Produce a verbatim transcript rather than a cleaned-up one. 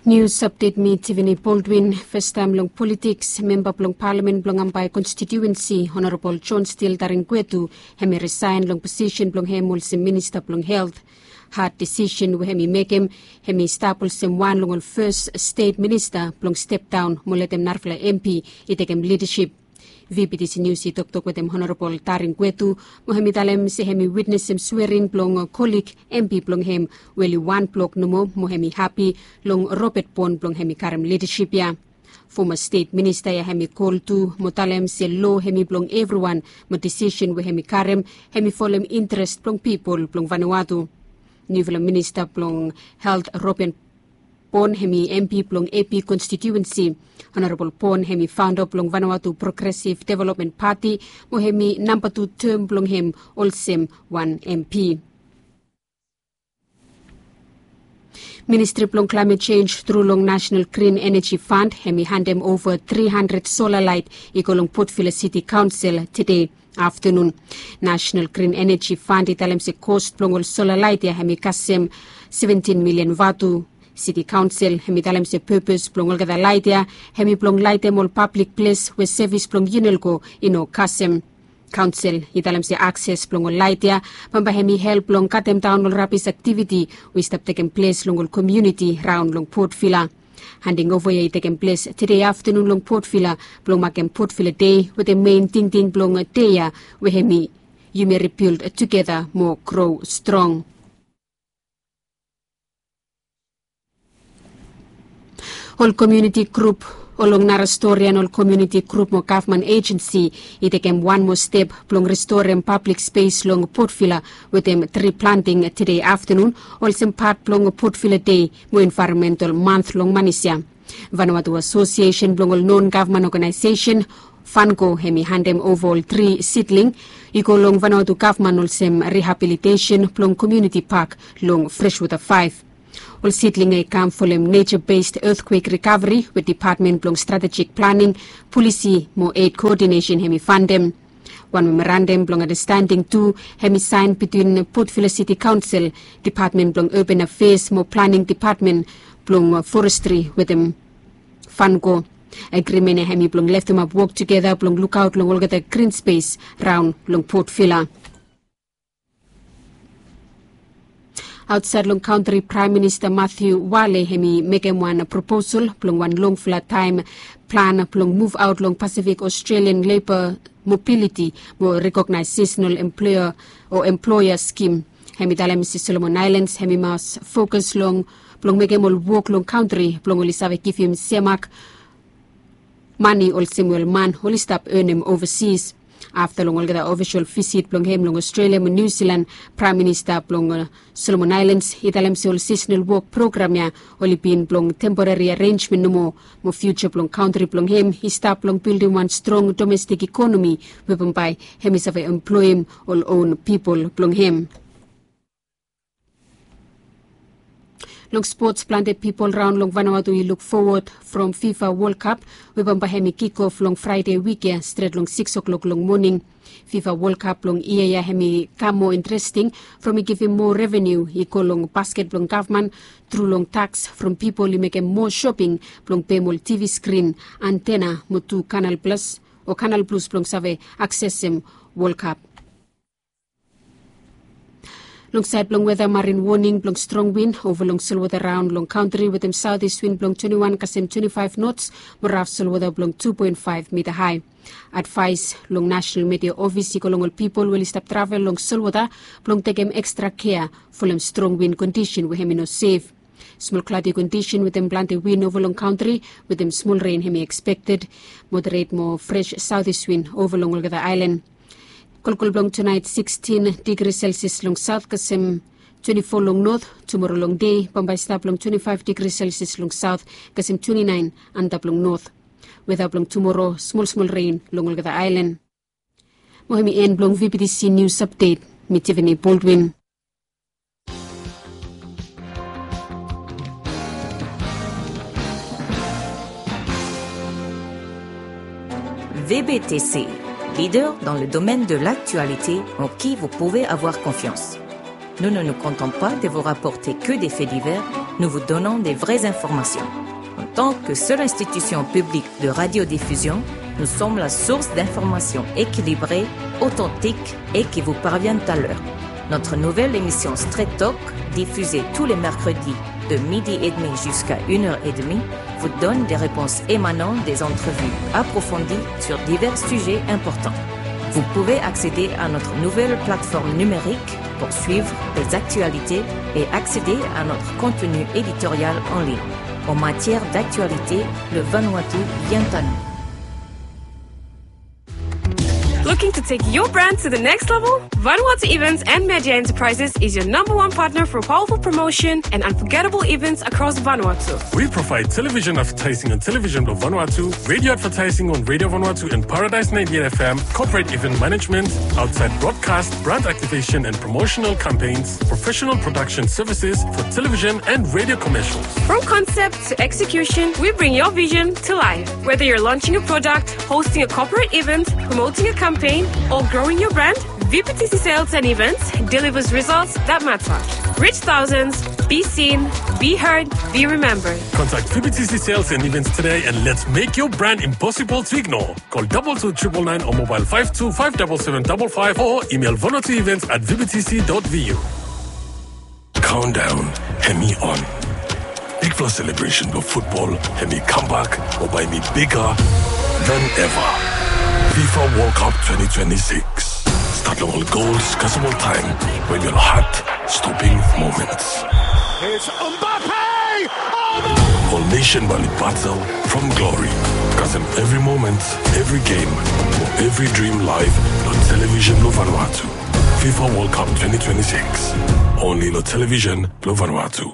Nius apdet, mi Tiffany Baldwin. Fastaem long politiks, memba blong palamen blong Ambae konstitiuensi, Honorabol John Steele Taringwetu, hemi risaen long posisen blong hem olsem minista blong helt. Had disisen we hemi mekem, hemi stap olsem wan long ol fes stet minista blong step daon mo letem narafala MP i tekem lidasip. VBTC Nius i toktok wetem Honorabol Taringwetu, mo hemi talem se hemi witnesem swering blong kolig MP blong hem, we oli wan blok nomo, mo hemi hapi long Robert Pon blong hemi karem lidasip ya. Foma stet minista ya hemi kol tu mo talem se loa hemi blong evriwan, mo disisen we hemi karem, hemi folem interes blong pipol blong Vanuatu. Niufala minista blong helt Robert Pon hemi MP blong AP konstitiuensi. Honorabol Pon hemi faonda blong Vanuatu Progresiv Developmen Pati, mo hemi namba tu tem blong hem olsem wan MP. Ministri blong Klaemet Jenj tru long Nasenal Grin Eneji Fand hemi handem ova tri handred sola laet i go long Port Vila Siti Kaonsel tede aftanun. Nasenal Grin Eneji Fand i talem se kos blong ol sola laet ya hemi kasem seventin milian vatu. Siti Kaonsel hemi talem se pepes blong olgeta laet ya hemi blong laetem ol pablik ples we sevis blong Unelco i no kasem. Kaonsel i talem se akses blong ol laet ya bambae hemi help blong katemdaon ol rabis aktiviti we i stap tekem ples long ol komuniti raon long Port Vila. Handing ova ya i tekem ples tede aftanun long Port Vila blong makem Port Vila Dei, wetem mein tingting blong dei ya we hemi yumi rebild tugeta mo gro strong. Ol komuniti grup, ol long nara storian ol komuniti grup mo gavman ejensi i tekem wan moa step blong restorem pablik spes long Port Vila wetem tri planting tede aftanun, olsem pat blong Port Vila Dei mo Envaeronmental Manth long manis ya. Vanuatu Asosiesen blong ol non gavman oganaesesen, Vanco, hemi handem ova ol tri sidling i go long Vanuatu gavman olsem rihabilitesen blong komuniti pak long Freshwater Faef. Ol sidling ya i kam folem Nature Based Earthquake Recovery we Dipatmen blong Stratejik Planing, Polisi mo Eid Koodinesen hemi fandem. Wan memorandam blong andastending tu hemi saen bitwin Port Vila Siti Kaonsel, Dipatmen blong Urban Afeas mo Planing Dipatmen blong Forestri wetem Vanco. Agrimen ya hemi blong leftemap wok tugeta blong lukaot long olgeta grin spes raon long Port Vila. Aotsaed long kantri, Praem Minista Matthew Wale hemi mekem wan proposal blong wan longfala taem plan blong muvaot long Pasifik Australian Leba Mobiliti mo Rekognaes Sisonal Emploea o Emploea Skim. Hemi talem se Solomon Aelans hemi mas fokas long blong mekem ol wok long kantri blong oli save givim semak mane olsem we ol man oli stap enem ovasis. Afta long olgeta ofisol visit blong hem long Australia mo New Zealand, Praem Minista blong Solomon Aelans i talem se ol sisonal wok program ya oli bin blong temporari arenjmen nomo, mo fiuja blong kantri blong hem i stap long bildim wan strong domestik ikonomi we bambae hemi save emploem ol own pipol blong hem. Long spots, plante pipol raon long Vanuatu i luk fowod from FIFA World Cup we bambae hemi kikof long Fraede wik ya stret long sikis o'klok long moning. FIFA World Cup blong yia ya hemi kam moa interesting from i givim moa reveniu i go long basket blong gavman tru long taks from pipol i mekem moa shoping blong pem ol TV skrin, antena mo tu Kanal Plus o Kanal Plus blong save aksesem World Cup. Long saed blong weta, marin woning blong strong win ova long solwota raon long kantri wetem saotis win blong twenti wan kasem twenti faef nots mo raf solwota blong tu poen faef mita hae. Advaes long Nasenal Midia Ofis i go long ol pipol we oli stap travel long solwota blong tekem ekstra kea folem strong win kondisen we hemi no sef. Smol kladi kondisen wetem plante win ova long kantri wetem smol ren hemi ekspekted. Moderet mo fres saotis win ova long olgeta aelan. Kolkol blong tunaet sikstin digri Celsius long saot kasem twenti fo long not. Tumoro long dei bambae i stap long twenti faef digri Celsius long saot kasem twenti naen antap long not. Weta blong tumoro, smolsmol ren long olgeta aelan. Mo hemi en blong VBTC Nius Apdet. Mi Tiffany Baldwin. VBTC, leader dans le domaine de l'actualité en qui vous pouvez avoir confiance. Nous ne nous contentons pas de vous rapporter que des faits divers, nous vous donnons des vraies informations. En tant que seule institution publique de radiodiffusion, nous sommes la source d'informations équilibrées, authentiques et qui vous parviennent à l'heure. Notre nouvelle émission Straight Talk, diffusée tous les mercredis de midi et demi jusqu'à une heure et demie, vous donne des réponses émanant des entrevues approfondies sur divers sujets importants. Vous pouvez accéder à notre nouvelle plateforme numérique pour suivre les actualités et accéder à notre contenu éditorial en ligne. En matière d'actualité, le Vanuatu vient à nous. Looking to take your brand to the next level? Vanuatu Events and Media Enterprises is your number one partner for powerful promotion and unforgettable events across Vanuatu. We provide television advertising on Television Blue Vanuatu, radio advertising on Radio Vanuatu and Paradise ninety-eight F M, corporate event management, outside broadcast, brand activation and promotional campaigns, professional production services for television and radio commercials. From concept to execution, we bring your vision to life. Whether you're launching a product, hosting a corporate event, promoting a campaign, or growing your brand, V P T C Sales and Events delivers results that matter. Reach thousands, be seen, be heard, be remembered. Contact V P T C Sales and Events today and let's make your brand impossible to ignore. Call double two triple nine or mobile five two five double seven double five or email vanuatuevents at V P T C dot V U. Countdown hemi on. Bigfala celebration blong football hemi comeback mo bae hemi bigger than ever. FIFA World Cup twenty twenty-six. Start long ol goals kasem ol taem we hemi ol heart-stopping moments. It's Mbappe! Oh, no! Ol nation bae oli battle from glory kasem every moment, every game, mo every dream live long television blong Vanuatu. FIFA World Cup twenty twenty-six. Only long television blong Vanuatu.